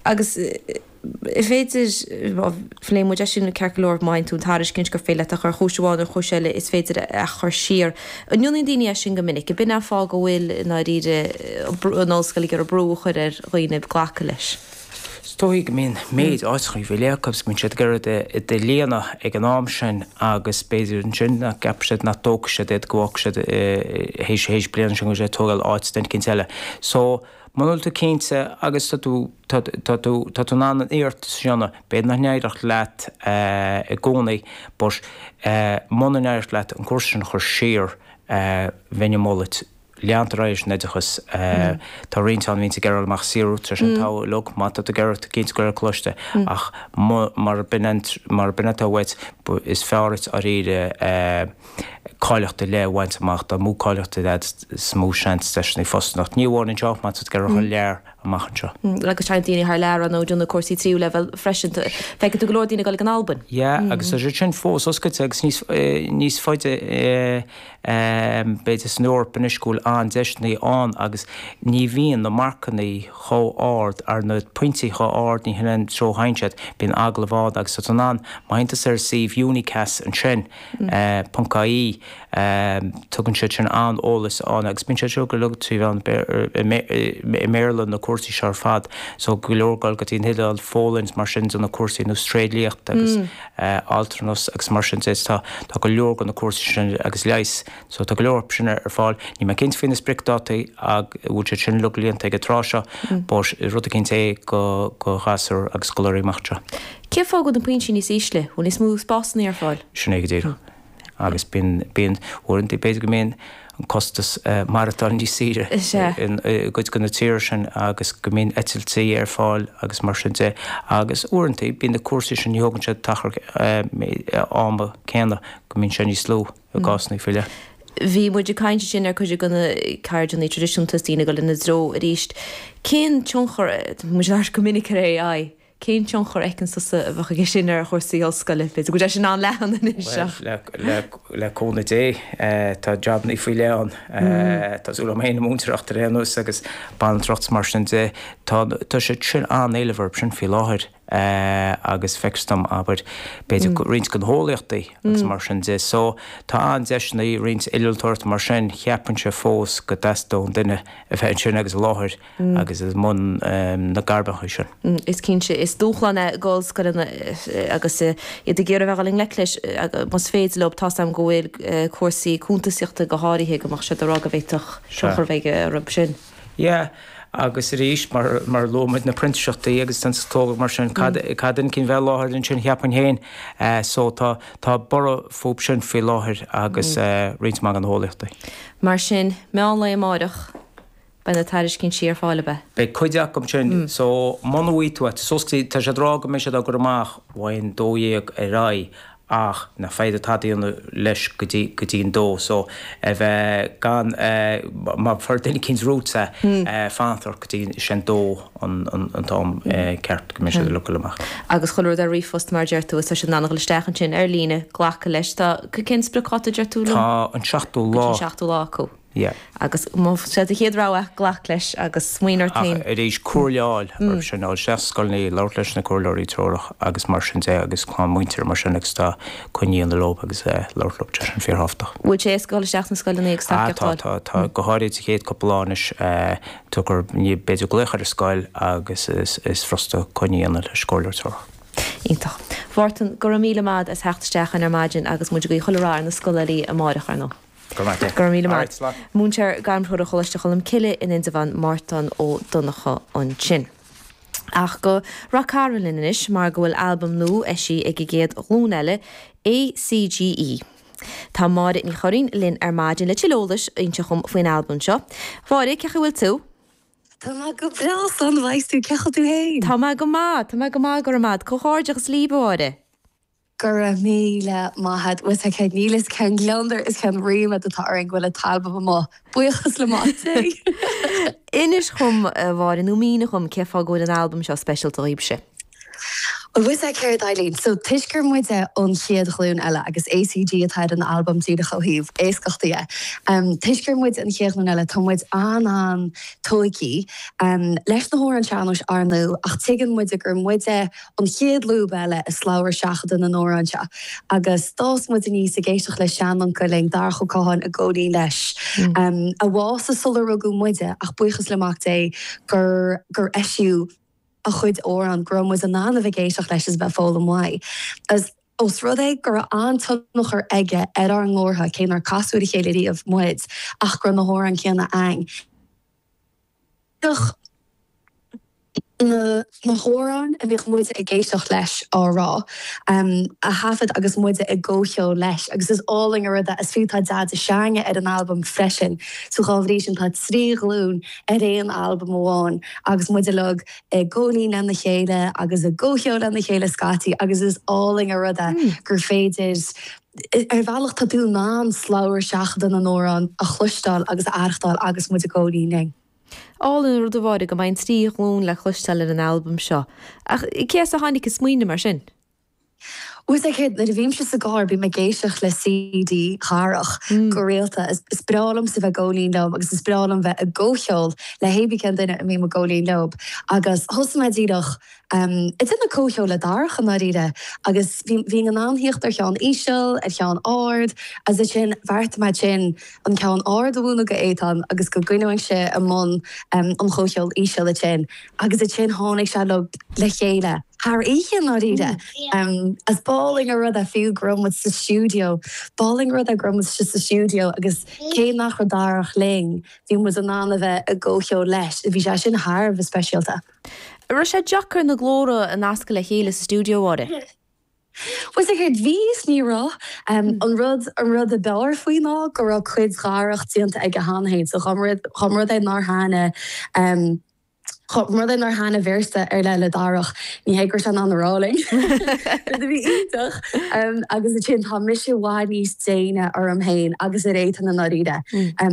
Agus is féidir, phléigh muid é sin ceart go leor, má fhaigheann tú an tairiscint gur féidir leat a chur chúis amháin nó chúis eile is féidir a chur siar. An ndéanann daoine é sin go minic? Ab in an fáth go bhfuil, i ndáiríre, an ollscoil ag iarraidh brú a chur ar dhaoine glacadh leis? Is dóigh go mbíonn méid áiteachaí faoi leith acu agus go mbíonn siad ag iarraidh iad a líonadh ag an am sin agus b'fhéidir ansin nach gceapfaidh siad, nach dtógfaidh siad iad, go bhfágfaidh siad théis, théis bliana sin go bhfuil siad ag tógáil áit duine eicínt eile. So, muna bhfuil tú cinnte agus tá tú, tá, tá tú, tá tú in ann an iarratas a dhéanamh, b'fhéidir nach n-éireodh leat i gcónaí but muna n-éireodh leat an cúrsa sin a chur siar, bheinn ag moladh duit leanúint ar aghaidh leis an oideachas. Tá roinnt ann a bhíonns ag iarraidh dul amach saothrú tar éis an togha uilig, má tá tú ag iarraidh, cinnte dul ar coláiste ach mar b'in an, mar b'in atá uait, is fearr duit dáiríre cáilíocht ar leith a bhaint amach, dá mó cáilíocht agat is mó seans deiseanna fostaíocht. Ní amháin anseo, má tá tú ag iarraidh thar lear amach anseo. Agus téann daoine thar lear ar ndóigh ag déanamh cúrsaí tríú leibhéal freisin. Feiceann tú go leor daoine ag dul ag an Albain. Yeah, agus tá siad sin fós oscailte agus níos, níos faide b'fhéidir san Eoraip anois go bhfuil an-deiseanna ann agus ní bhíonn na marcannaí chomh ard, ar na pointí chomh ard, ní hin an treo a théann siad, bíonn agallamh ann agus tá tú in ann, má théann tusa ar an suíomh Unicas ansin, ponc ie, tugann siad sin an-eolas ann agus bíonn siad seo go uilig trí mheán i mBéarla na cúrsaí seo ar fad so go leor ag dul go dtí an Iodáil, Pholainn is mar sin de na cúrsaí ar nós tréidliacht agus altranas agus mar sin de. Tá tá go leor de na cúrsaí sin agus leighis so tá go leor sin ar fáil. Níl mé cinnte faoi na spriocdhátaí ag bhfuil siad sin uilig líonta ag an tráth seo but rud eicínt é do do ghasúir agus scoláirí amach anseo. Cén fáth go bhfuil na pointí níos ísle? Bhfuil níos mó spásanna ar fáil? Sin é go díreach. Agus bíonn, bíonn, uaireanta b'fhéidir go mbíonn an costas maireachtála níos saoire i gcuid de na tíortha sin agus go mbíonn eitiltí ar fáil agus mar sin de. Agus uaireanta bíonn na cúrsaí sin, ní thógann siad an t-achar ama céanna, go mbíonn sé níos lú i gcásanna faoi leith. Bhí muid ag caint ansin ar cuid de na ceirdeanna traidisiúnta is daoine ag dul ina dtreo arís. Cén tionchar, tá muid ag labhairt go minic ar AI, Cén tionchar a fheiceann tusa a bheadh aige sin ar chúrsaí ollscoile? B'fhéidir go bhfuil sé sin an-leathan anois ach. Bhuel, le cúnamh Dé, tá jabannaí faoi leith ann. Tá súil agam féin i múinteoireacht ar aon nós agus banaltracht is mar sin de. Tá tá siad sin an-éileamh orthu sin faoi láthair agus feictear dom, abair, b'fhéidir roinnt de na heolaíochtaí agus mar sin de. So, tá an-deiseanna i roinnt innealtóireachta mar sin, cheapfainnse fós go dteastódh duine a bheith ansin agus i láthair. agus i mbun na gairmeacha sin. Is cinnte, is dúshlán é d'ollscoileanna agus iad ag iarraidh a bheith ag dul i ngleic leis más féidir leo. Tá's agam go bhfuil cúrsaí cuntasaíochta go háirithe go mbeadh siad ag rá go bhféadfadh tionchar a bheith orthu sin. Yeah, agus arís, mar mar a luaigh muid na printíseachtaí agus an tógáil mar sin, cad cad an cinn bheith i láthair ansin cheapfainn féin. So tá tá borradh fúthu sin faoi láthair agus roinnt mhaith de na heolaíochtaí. Mar sin, meán lae amáireach, Beidh na tairiscintí ar fáil, ab ea? Beidh cuid acu sin, so muna bhfaighidh tú é, so tá siad ag rá go mbeidh siad á gcur amach ón 12 ar aghaidh ach nach féidir tada a dhéanamh leis go dtí, go dtí an dó, so a bheith gan, má fuair duine eicínt uait é, fanacht ort go dtí sé an dó an, an, an t-am ceart go mbeidh siad uilig ag dul amach. Agus chuile rud ar ríomhphost mar a deir tú is tá siad in ann a dhul isteach ansin ar líne, glacadh leis. Tá, cén spriocdháta a deir tú liom? Tá an seachtú lá. Go dtí an seachtú lá acu. Yeah. Agus más é do chéad rogha, glac leis agus smaoinigh ort Ach féin. arís, comhairle a fháil orthu sin, dul isteach sna scoileanna, labhairt leis na comhairleoirí treorach agus mar sin de agus clann muintire mar sin agus tá coinne a dhéanamh leo agus labhairt leo, tá sin fíorthábhachtach. Bhfuil sé éasca dul isteach sna scoileanna agus Ah, tacaíocht a tá, fháil? tá, tá, go háirid sa chéad cúpla lá anois, tugar, ní, b'fhéidir glaoch ar an scoil agus is, is furasta coinne a dhéanamh leis an gcomhairleoir treorach. Iontach. Mhártain, go raibh míle maith agat as theacht isteach chugainn ar maidin agus muid ag guí chuile rath ar na scoláirí amáireach, ar ndóigh. Go raibh maith Go raibh míle maith. Alright, slán. Múinteoir Gairmthreorach Choláiste Cholm Cille in Indreabhán, Mártan Ó Donnchadha ansin. Ach go Rath Cairn linn anois mar go bhfuil albam nua eisithe ag an gcéad ghlúin eile, ACGE. Tá Máire Ní Churraoin linn ar maidin le tuilleadh eolais a inse dhom faoin albam seo. Mháire, cén chaoi a bhfuil tú? Tá mé go breá, slán a bheas tú, cén chaoi a bhfuil tú féin? Tá mé go maith, tá mé go maith, go raibh maith agat. Comhghairdeachas libh, a Mháire. Go raibh míle maith agat. Bhuel, tá cén níl fhios cén gliondar is cén ríméad atá orainn go bhfuil an t-albam amuigh. Buíochas le Máté. Inis dhom, a Mháire, nó mínigh dhom cén fáth go bhfuil an albam seo speisialta dhaoibhse. Bhuel bhfuil 'fhios a'd céard Eileen, so toisc gur muide an chéad ghlúin eile agus ACG atá ar an albam díreach ó thaobh éascachta dhe, toisc gur muide an chéad ghlúin eile tá muid an-an tóigthí leis na hamhráin sean-nóis ar ndóigh ach tuigeann muide gur muide an chéad lúb eile i slabhra seachadta na n-amhrán seo agus d'fhás muid aníos ag éisteacht le seanuncail linn, Darach Ó Catháin i gcónaí leis, a bhásaigh sular rugadh muide ach buíochas le Mac Dé gur gur eisíodh a chuid amhrán, go raibh muid in ann a bheith ag éisteacht leis is a bheith ag foghlaim uaidh. Agus ós rud é go raibh an-tionchar aige ar ár nglórtha, cé nár casadh ar a chéile riamh muid, ach go raibh na hamhráin céanna a'ainn, bhíodh na hamhráin a bhíodh muide ag éisteacht leis á rá, a thaifead agus muide i gcomhcheol leis. Agus is álainn an rud é, is fiú tá Deaide s'a'ainne ar an albam freisin, so dhá bhrí sin tá 3 ghlúin ar aon albam amháin agus muid uilig i gcónaí lena chéile agus i gcomhcheol lena chéile scaití agus is álainn an rud é gur féidir, ar bhealach tá tú in ann slabhra seachadta na n-amhrán a chloisteáil agus a aireachtáil agus muid i gcónaí linn. Álainn an rud a Mháire go mbeidh an trí ghlúin le cloisteáil ar an albam seo. Ach cé as a tháinig an smaoineamh mar sin? Bhfuil 'fhios a'd céard, nuair a bhímse sa gcarr bím ag éisteacht le CD Dharach go rialta. Is breá liomsa bheith ag gabháil fhoinn liom agus is breá liom bheith i gcomhcheol le hébí cén duine a mbím ag gabháil fhoinn leob. Agus thosaigh mé díreach ag déanamh comhcheol le Darach i ndáiríre agus bhínn in ann thíocht ar cheann íseal, ar cheann ard agus ansin bheartaigh mé ansin an ceann ard a mhúineadh go Étáin agus go gcoinneoinnse i mbun an chomhcheoil íseal ansin agus ansin tháinig sé le chéile. Thar oíche, i ndáiríre. Is b'álainn an rud é fiú go raibh muid sa stiúideo. B'álainn an rud é go raibh muid sa stiúideo agus cé nach raibh Darach linn, bhí muid in ann a bheith i gcomhcheol leis. Bhí sé sin thar a bheith speisialta. An raibh sé deacair na glórtha a nascadh le chéile sa stiúideo, a Mháire? Bhuel, is céard, bhí is ní raibh. An rud, an rud a b'fhearr faoi ná go raibh cuid Dharach déanta aige cheana féin. So dá mba rud é nár thaitnigh, Dá mba rud é nár thaitnigh véarsa ar leith le Darach, ní hé go raibh sé in ann a rá linn. Rud a bhí iontach. Agus ansin tá mise i bhfad níos déine orm féin agus ar Étáin i ndáiríre.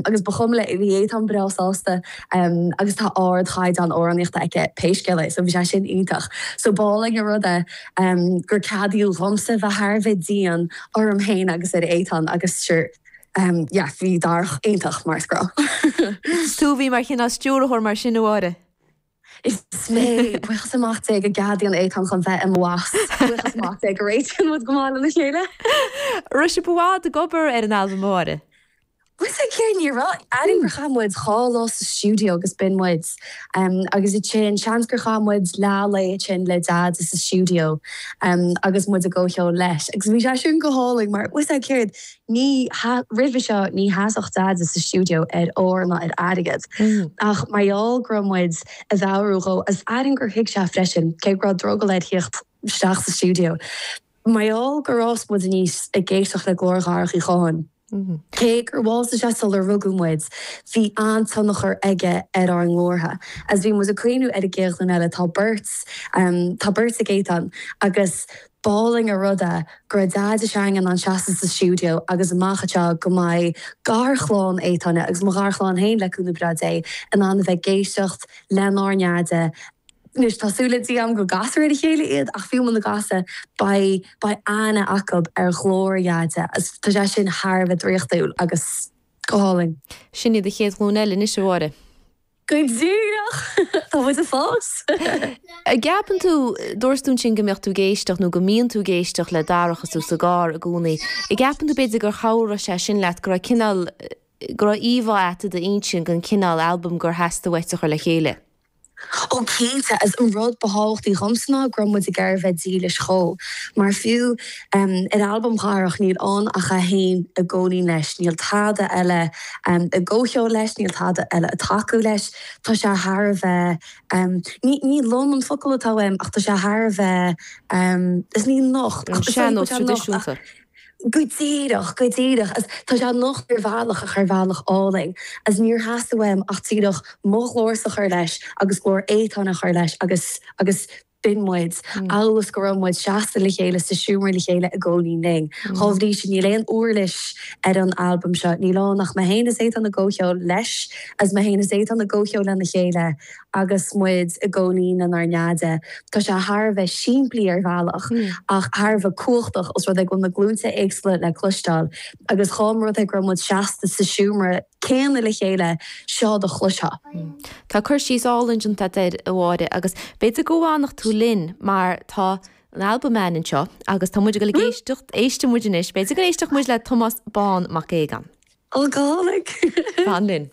Agus ba chuma léi, bhí Étáin breá sásta agus tá ardchaighdeán amhránaíochta aici pé scéal é, so bhí sé sin iontach. So b'álainn an rud é gur ceadaíodh dhomsa bheith thar a bheith dian orm féin agus ar Étáin agus sure, yeah, bhí Darach iontach mar is gnách. Is tú a bhí mar chineál stiúrthóir mar sin, a Mháire? Is mé, buíochas le Mac Dé go gceadaíonn Étáin dhom bheith i mo bhoss. Buíochas le Mac Dé go réitíonn muid go maith lena chéile. Raibh sibh i bhfad ag obair ar an albam, a Mháire? Bhuel, is céard, ní raibh. Airím gur chaith muid 2 lá sa stiúideo agus b'in muid. Agus ansin, seans gur chaith muid leath lae ansin le Deaide sa stiúideo agus muid i gcomhcheol leis. Agus bhí sé sin go hálainn mar, bhuel, is céard, ní, roimhe seo, ní sheasfadh Deaide sa stiúideo ar ór ná ar airgead. Ach mar gheall go raibh muid ag mheabhrú dhó, agus airím gur thuig sé freisin, cé go raibh drogall air thíocht isteach sa stiúideo, mar gheall gur fhás muid aníos ag éisteacht le glór Dharach Uí Chatháin. Cé gur bhásaigh sé sular rugadh muid, bhí an-tionchar aige ar ár nglórtha. Agus bhí muid ag cuimhniú ar an gcéad ghlúin eile, tá beirt, tá beirt ag Étáin, agus b'álainn an rud é go raibh Deaide s'againne in ann seasamh sa stiúideo agus amach anseo go mbeidh garchlann Étáin agus mo gharchlann féin, le cúnamh breá Dé, in ann a bheith ag éisteacht lenár nDeaide. Anois, tá súil le Dia agam go gcasfar ar a chéile iad, ach fiú muna gcastar, beidh, beidh aithne acu ar ghlór a Dheaide agus tá sé sin thar a bheith draíochtúil agus go hálainn. Sin iad an chéad ghlúin eile anois, a Mháire. Go díreach! Tá muid ag fás! An gceapann tú, dúirt tú ansin go mbeadh tú ag éisteacht nó go mbíonn tú ag éisteacht le Darach is tú sa gcarr i gcónaí. An gceapann tú b'fhéidir gur chabhraigh sé sin leat, go raibh cineál, go raibh íomhá agat i d'intinn den chineál albaim gur theastaigh uait a chur le chéile? Ó cinnte, agus an rud ba thábhachtaí dhomsa ná go raibh muid ag iarraidh bheith dílis dhó. Mar fiú ar albam Dharach níl ann ach é féin ag gabháil fhoinn leis, níl tada eile i gcomhcheol leis, níl tada eile ag tacú leis. Tá sé thar a bheith, ní ní lom an focal atá uaim ach tá sé thar a bheith, is ní nocht, An sean-nós traidisiúnta. Go díreach, go díreach. Agus tá sé nocht ar bhealach ach ar bhealach álainn. Agus níor theastaigh uaim ach díreach mo ghlórsa a chur leis agus glór Étáin a chur leis agus, agus b'in muid. Amhail is go raibh muid seasta le chéile sa seomra le chéile i gcónaí linn. Dhá bhrí sin níl aon uirlis ar an albam seo. Níl ann ach mé féin is Étáin i gcomhcheol leis agus mé féin is Étáin i gcomhcheol lena chéile. Agus muid i gcónaí lenár nDeaide. Tá sé thar a bheith simplí ar bhealach ach thar a bheith cumhachtach os rud é go bhfuil na glúnta éagsúla le cloisteáil agus dhá mba rud é go raibh muid seasta sa seomra céanna le chéile, seo do chloisfeá. Tá cur síos álainn déanta agat air, a Mháire, agus b'fhéidir go bhfanfadh tú linn mar tá an albam againn anseo agus tá muid ag dul ag éisteacht, éistfidh muid anois, b'fhéidir go n-éistfeadh muid le Tomás Bán Mac Aogáin. Ó, go hálainn! Fan linn.